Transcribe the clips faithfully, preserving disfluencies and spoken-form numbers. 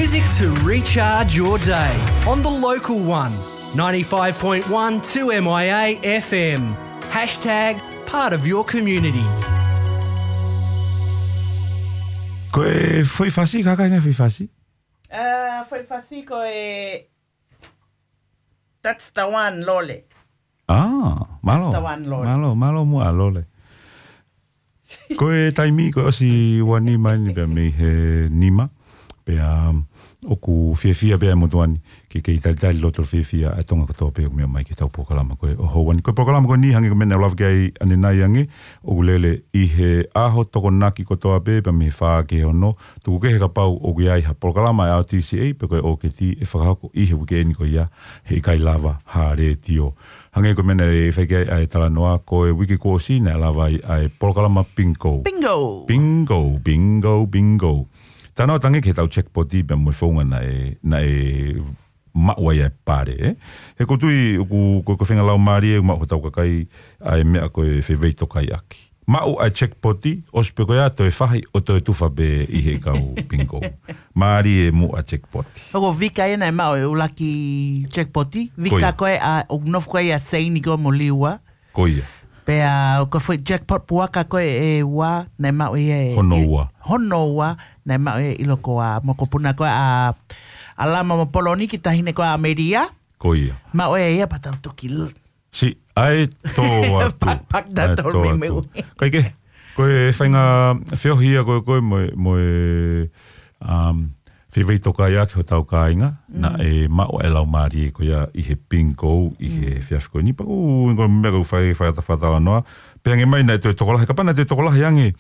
Music to recharge your day on the local one, ninety-five point one two M I A F M. Hashtag part of your community. Ko e foʻi fasi, kāinga, foʻi fasi? Ah, foʻi fasi ko e That's the one, Lole. Ah, mālō. That's the one, Lole. Mālō, mālō muʻa, Lole. Ko e taimi, ko e ʻosi ua nima eni pea mei he nima. Pea, um, ʻoku fiefia pē ʻa e motuʻa ni ke kei talitali loto fiefia ʻa Tonga kotoa pē ʻoku meʻa mai ki heʻetau polokalama ko ē ʻo houa ni. Ko e polokalama ko eni hangē ko e meʻa naʻa ku lave ki ai ʻanenai ange, ʻoku lele ʻi he ʻaho Tokonaki kotoa pē, pea mei he fā ki he ono, tuku kehe kapau ʻoku ʻi ai ha polokalama ʻa e R T C A, pe ko e O K T ʻe fakahoko ʻi he uike ni ko ia, heʻikai lava ha letiō. Hangē ko e meʻa naʻe fai ki ai ʻa e talanoa, ko e uike kuo ʻosi naʻe lava ai ʻa e polokalama Bingo. Bingo! Bingo, bingo, bingo. Talanoa tangi ki heʻetau jackpot pea mo e founga naʻe, naʻe maʻu ai ʻa e pale, ē? He ʻoku ou tui, ʻoku, ko, ko e feinga laumālie, maʻu hotau kakai ʻa e meʻa ko e fevei tokaiʻaki. Maʻu ʻa e jackpot, ʻosi pē ko ia toe fahi ʻo toe tufa pē ʻi he kau Bingo. Mālie muʻa jackpot. ʻOku vika ena e maʻu e ʻuluaki jackpot, vika Ko ia. ko ē ʻa, ʻoku nofo ko ē ʻa Seini ko mo Liua. Ko ia. Pea ko e foʻi jackpot puaka ko ē ʻe ua, naʻe maʻu ia e Hono ua. Hono ua, naʻe maʻu ia e ʻilokoa, mokopuna ko ē ʻa, ʻa Lama mo Poloni ki he taʻahine ko ē ʻa Melia. Ko ia. Maʻu ia ia pea tau toki l- Si, ʻai tō atu. Pak, pak, ʻAi tō tō mei atu. Mei. Kae kehe, ko e feinga feohi ia ko ē, ko ē mo e, mo e, um, fevei tokaiʻaki hotau kāinga, Mm. naʻe maʻu ʻa e laumālie ko ia ʻi he Bingo, ʻi he Mm. efiafi ko eni. Pea ko e, ko e meʻa ko e fai, fai, fakatalanoa. Pea hangē mai naʻe toe tokolahi, kapau naʻe toe tokolahi ange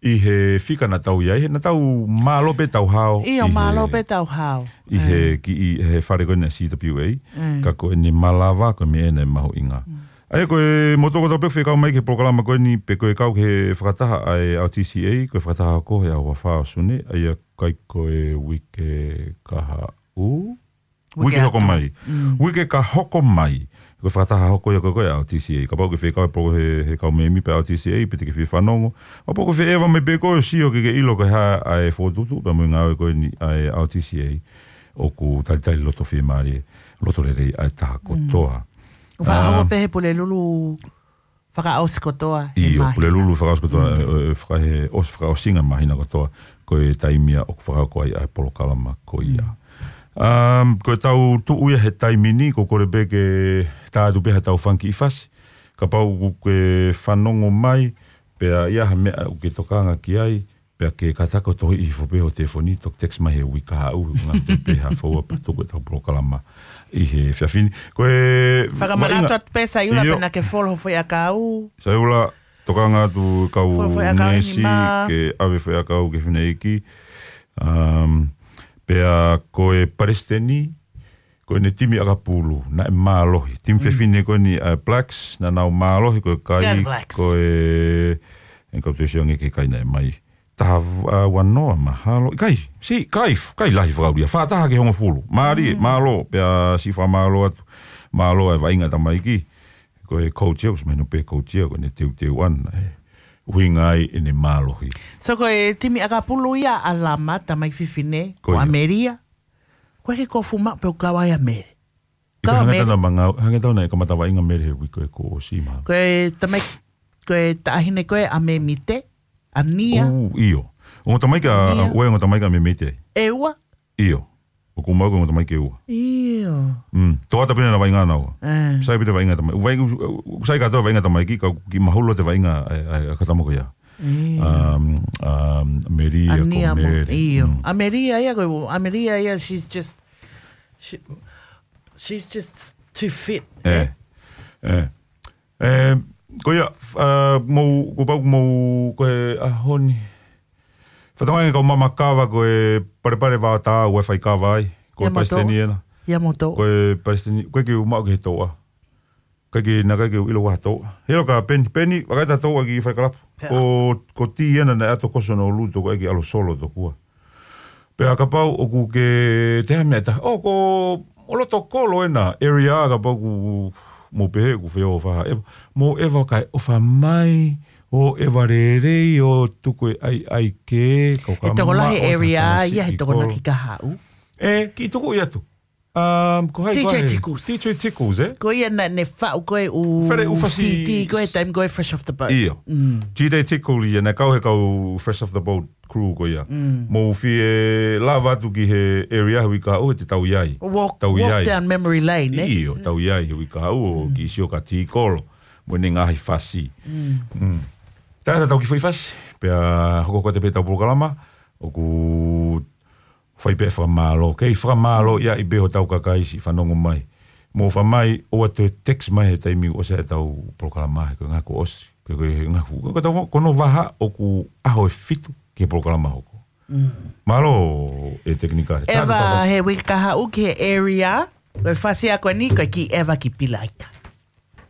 ʻi he fika naʻa tau ʻi ai, he naʻa tau mālō pē tau hao ʻIo, ʻi he mālō pē tau hao. ʻI he Mm. kiʻi, he fale ko eni C W A, Mm. ka ko eni malava ko e meʻa ena ʻe mahuʻinga. Mm. ʻA ia ko e motuʻa kotoa pē ʻoku fekau mai ki he polokalama ko eni pe ko e kau ki he fakataha ʻa e R T C A, ko e fakataha ko ē he ʻaho ua fā ʻo Sune, ʻa ia ʻikai ko e uike kahaʻu? Uike Uike hoko atu. mai. Mm. Uike ka hoko mai. Ko e fakataha hoko ia ko ē ʻa e R T C A. Kapau ʻoku ke fekau e polo he, he kau mēmipa ʻa e R T C A, pe te ke fie fanongo. Kapau ʻoku ke fie ʻeva mai pē koe ʻo sio ke ke ʻilo ko e hā ʻa e fokotuʻutuʻu pea mo e ngāue ko eni ʻa e R T C A. ʻOku talitali loto fiemālie, loto lelei ʻa e taha Mm. kotoa. ʻO fakahoko Um, pē he Pulelulu fakaʻosi kotoa, he ʻIo, māhina. Pulelulu fakaʻosi kotoa, Mm. e, e, faka-, he ʻosi fakaʻosinga māhina kotoa, ko e taimi ia ʻoku fakahoko ai ʻa e polokalama ko ia. Mm. Um, ko ʻetau tuʻu ia he taimi ni, ʻoku ou kole pē ke tā atu pē haʻatau fanga kiʻi fasi. Kapau ʻoku ke fanongo mai, pea ʻi ai ha meʻa ʻoku ke tokanga ki ai, pea ke kātaki ʻo tohi ʻi he foʻi pē ho telefoni, toki text mai he uike kahaʻu, ngā te pē ha foua pea tuku ʻetau polokalama ʻi he efiafi ni. Ko e Fakamanatu vaʻinga atu pē Saiula ʻIo. pe naʻa ke follow ho foʻi ʻakau. Saiula, tokanga atu kau Follow foʻi ʻakau ni ngeʻesi mā. ke ʻave foʻi ʻakau ki he fineʻeiki. Um, pea ko e palesiteni, ko ʻene timi ʻakapulu, naʻe mālohi. Timi Mm. fefine ko eni ʻa e Blacks, naʻa nau mālohi, ko e kai, Go Blacks. ko e, en kau te sio ange ki he kai naʻe mai. Taha, uh, ua noa, mahalo. ʻIkai, si, ʻikai, ʻikai lahi fakaulia. Fā taha ki he hongofulu. Mālie, Mm. mālō, pea si fakamālō atu. Mālō e vaʻinga tamaiki. Ko e coach ia, ʻosi mahino pē coach ia, ko ʻene teuteu ʻana, ē. ʻUhinga ai ʻene mālohi. So ko e timi ʻakapulu ia ʻa Lama, tamaiki fefine, Ko ko ia. ʻAmelia. Ko e ke kofu maʻu pē ʻo kau ai ʻa Mele. ʻIkai Kau hanga Mele. tau na mangau, hanga tau na e kamata vaʻinga Mele he uike ko ē kuo ʻosi mā. Ko e tamaiki, ko e taʻahine ko ē ʻa Memite, ʻa Nia. ʻOu, ʻio. Ongo tamaiki ʻa, Nia. ʻoku ʻi ai ongo tamaiki ʻa Memite. ʻE ua. ʻIo. ʻOku mau ko e ongo tamaiki ʻe ua. ʻIo. Mm. Toʻa pē naʻa na vaʻinga naua. Eh. Sai pē te vaʻinga tamaiki. Vai, sai kātoa vaʻinga tamaiki, ka kiʻi mahulu te vaʻinga, e, e, e, ka tama ko ia. ʻIo. Um, um, Melia ʻA ko Nia mo, Mele. ʻio. Mm. ʻAmelia ia ko, ʻAmelia ia, she's just, she, she's just too fit, Eh. eh? Eh. Eh, ko ia, f-, ah, mou, ko pau mou, ko e ʻaho ni. Fatongia kau mamakava ko e palepale vao tā ua fai kava ai. Ko e Ia mo palesiteni tō. ena. Ia mo tō. Ko e palesiteni, ko e ke u maʻu ki he tōʻa. Ko e ke na ka ke u ʻilo ua tōʻa. Helo ka Peni, Peni, vakai ta tōʻa ki fai kalapu. Pea. Ko, ko tī ena naʻe ʻato koso no luto ko e ke ʻalo solo tokua. Pea kapau ʻoku ke te ha meʻa ta. ʻO ko, ʻo loto kolo ena, area kapau ʻoku mou pehē ʻoku feo fa. E, mou ʻeva kai ʻofa mai, ʻo ʻeva lelei, ʻo tuku e ʻai ʻai ke, kau ka E tokolahi maʻu ʻa e area, taha ia he si tokona kolo. ki kahaʻu. E, kiʻi tuku ia tu. Um, ko hai ko hai? D J Tickles. D J Tickles, e? Ko ia naʻa ne faʻu ko ē ʻū Fere ʻū fasi C D ko ē taimi ko ē Fresh Off the Boat. ʻIo. Mm. D J Tickles ia, naʻe kau he kau Fresh Off the Boat crew ko ia. Mm. Mou fie lava atu ki he area he uike kahaʻu, he te tau ʻi ai. Walk, tau ʻi ai. Walk down memory lane, e? ʻIo, tau ʻi ai he uike kahaʻu, ʻo kiʻi sio kia Tikolo. Mo ʻene ngaahi fasi. Mm. Mm. Taimi tatau ki he foʻi fasi. Pea hoko ko ē pē ʻetau polokalama. ʻOku fai pē fakamālō. Kei fakamālō ia ʻi pē hotau kakai siʻi fanongo mai. Mou fai mai, ʻoua toe text mai he taimi ʻosi ʻetau polokalama he ko e ngaahi kuo ʻosi. Ko e, ko e ngaahi fu-, ko e tau, ko hono vaha ʻoku ʻaho ʻe fitu ki he polokalama hoko. Mm. Mālō e tekinika. Eva he uike kahaʻu ki he area. Ko e fasi ʻa ko eni, ko e kiʻi Eva ki Pilaika.